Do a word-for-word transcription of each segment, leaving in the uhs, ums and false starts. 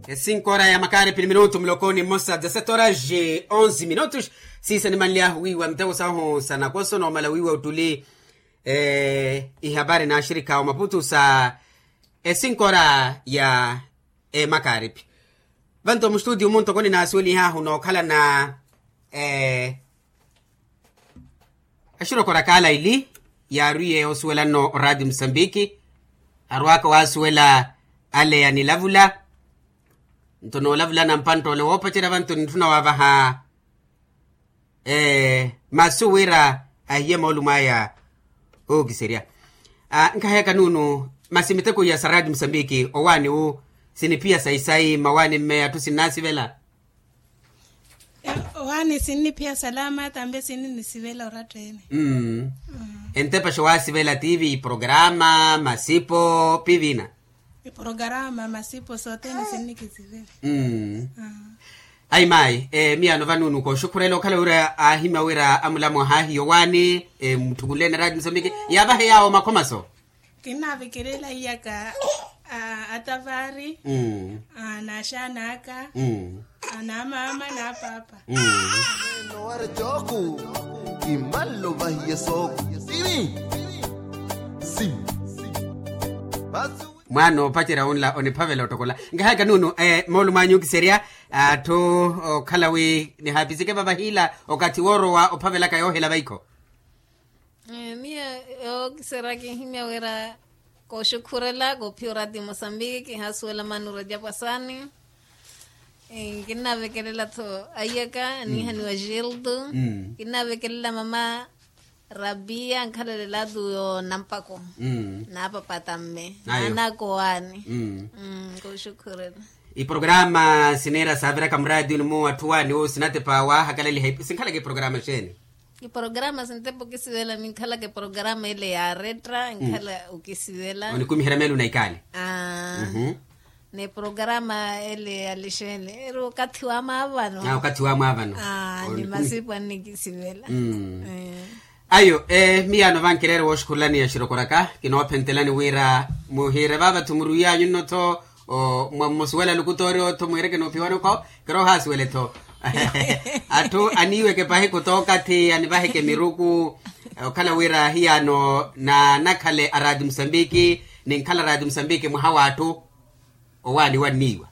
Esinko ora ya makaaripi ni minutu muloko ni mmosa dezasete horas de onze minutos. Siisa nimanlyahu wiiwa miteko sahu sa nakoso noomala wiiwa ottuli ihapari n'axirikha omaputu sa esinko ora ya emakaaripi. Vanto mustutiyu muntoko ninaasuwelihahu nookhalana axirokora kaala ili yaariye osuwela nno oraati musambiki. Arwaaka waasuwela ale anilavula nto noolavulana mpanttole woopacerya vanto nitthuna waavaha masu wira ahiye moolumo aya ookiserya. Nkaheyaka nuunu masi miteko iya sa raati musambiki owaani wu siniphiya sayi-sayi mmawaani mmeya atthu sinnaasivela. Owaani sinniphiya salama tambe sinninisivela oratta-ene. Entepaxo waasivela tiivi iprograma masipo piivina. Iprograma masipo sothene sinnikisivela. Ayi maayi miyaano vanuunu kooxukhurela okhala wira aahimya wira amulamu ahaahiya owaani mutthukunleene raati musambiki yaavahe yaawo makhomaso. Kinnaavekelela iyaka atavari, n'axaana aka, n'amaama n'apaapa. Mwaana oopacerya wunla oniphavela ottokola. Nkahaka nuunu moolumo anyu okiserya atthu okhala wi nihaapisike vavahiila okathi woorowa ophavelaka yoohela vaikho. Miyo yookiserya kinhimya wira kooxukhurela koophiya oraati musambiki kihaasuwela mano rajapwasani. Kinnaavekelela-tho aiyaka aniihaniwa gildo. Kinnaavekelela mama rabiya ankhalalelatu yo nampako naapapata mme naanaka owaani. Kooxukhurela iprograma siniira saaviraka muraatiyuni mu atthu waani wo sinatepa waahakalaliha sinkhalaka iprograma xeeni? Iprograma sintepa okisivela minkhalaka iprograma ile ya retra nkhala okisivela onikumiherya meelo na ikaali. Ni programa ele ya lixele eri okathi wa mwaavano. Okathi wa mwaavano. Ni masipu annikisivela. Ayo miyaano vankireere wooxukhurelani ya xirokoraka kinoophentelani wira muhiire vaava-tho murwiyanyu nno-tho. Mwamusuwela lukutoori otho mwiireke noophiwani okho kiroohaasuwele-tho. Atthu aniiweke pahi kutookathi anivaheke miruku okhala wira ahiyaano naanakhale araati musambiki ninkhala araati musambiki mwaha w'atthu. Owaani wanniiwa.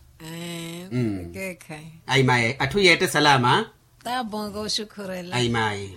Ayi maye atthu yeette salama. Taabonga oxukhurela ayi maye.